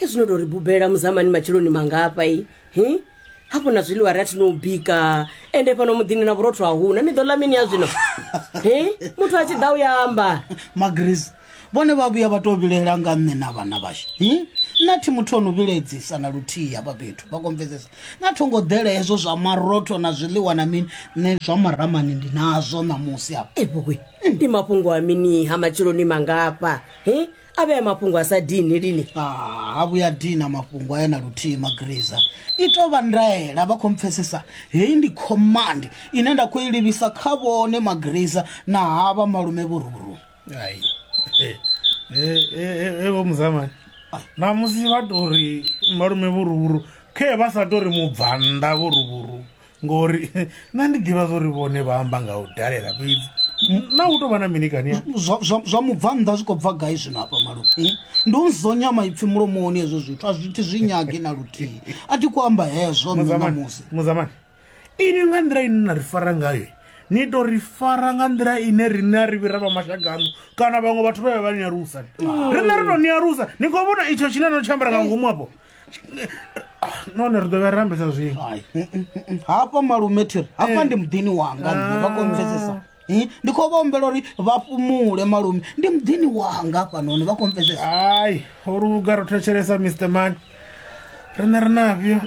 Ke zwino to ri bubela muzamani matsheloni mangafha i hi hafho na zwiḽiwa ri a thi no bika ende fhano muḓini na vhurotho a huna ni ḓo ḽa mini ya zwino hi muthu a tshi ḓa u ya amba. Magriza vhone vha vhuya vha tou vhilaela nga nṋe na vhana vhashu hi nṋe thi muthu ono vhilaedzisa na luthihi hafha fhethu vha kompfesesa na tho ngo ḓela hezwo zwa marotho na zwiḽiwa na mini nṋe zwa maramani ndi nazwo ṋamusi hafha. Evhowe ndi mafhungo a mini ha matsheloni mangafha hi a vhea mafhungo a sa dini lini. Ha vhuya dina mafhungo aya na luthihi Magriza i tou vha ndaela vha khou mpfesesa heyi ndi command ine nda khou i livhisa kha vhone Magriza na havha malume vhururu. Ai. E vho muzamani namusi vha tou ri malume vhuruvhuru khe vha sa tou ri mubvannḓa vhuruvhuru ngori nṋe ndi ḓivha zwa uri vhone vha amba nga u dalela fhedzi na hu tou vha na mini kani zwa mubvannḓa zwi khou bva gai zwino hafha malume ndi u nzonya maipfi mulomoni hezwo zwithu a zwi thi zwi nyagi na luthihi a thi khou amba hezwo nṋe ṋamusi. Muzamani inwi nga nḓila ine na ri fara ngayo ni to ri fara nga nḓila ine riṋe a ri vhi ra vha mashaka aṋu kana vhaṅwe vhathu vhe vha vha ni alusa riṋe ri to ni alusa ni khou vhona itsho tshine no tshi ambara nga ngomu afho nahone ri ḓo vhuya ra ambesa zwiṅwe hafha malume thiri hafha ndi muḓini wanga nṋe vha khou mpfesesa ndi khou vha humbela uri vha fhumule malume ndi muḓini wanga hafhanoni vha khou mpfesesa. Hai ho luga ro thetshelesa Mr Man riṋe ri nafhio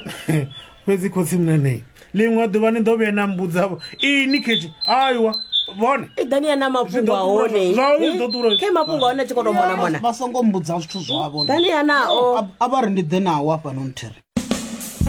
fhedzi khotsi munenei ḽiṅwe ḓuvha ni ḓo vhuya na mbudzavho ini khetshi aiwa vhone i ḓani ya na mafhungo a hone khe mafhungo a hone a tshi khou tou mona mona vha songo mbudza zwithu zwavho ḓani ya nao a vha ri ndi ḓe nao hafhanoni thiri.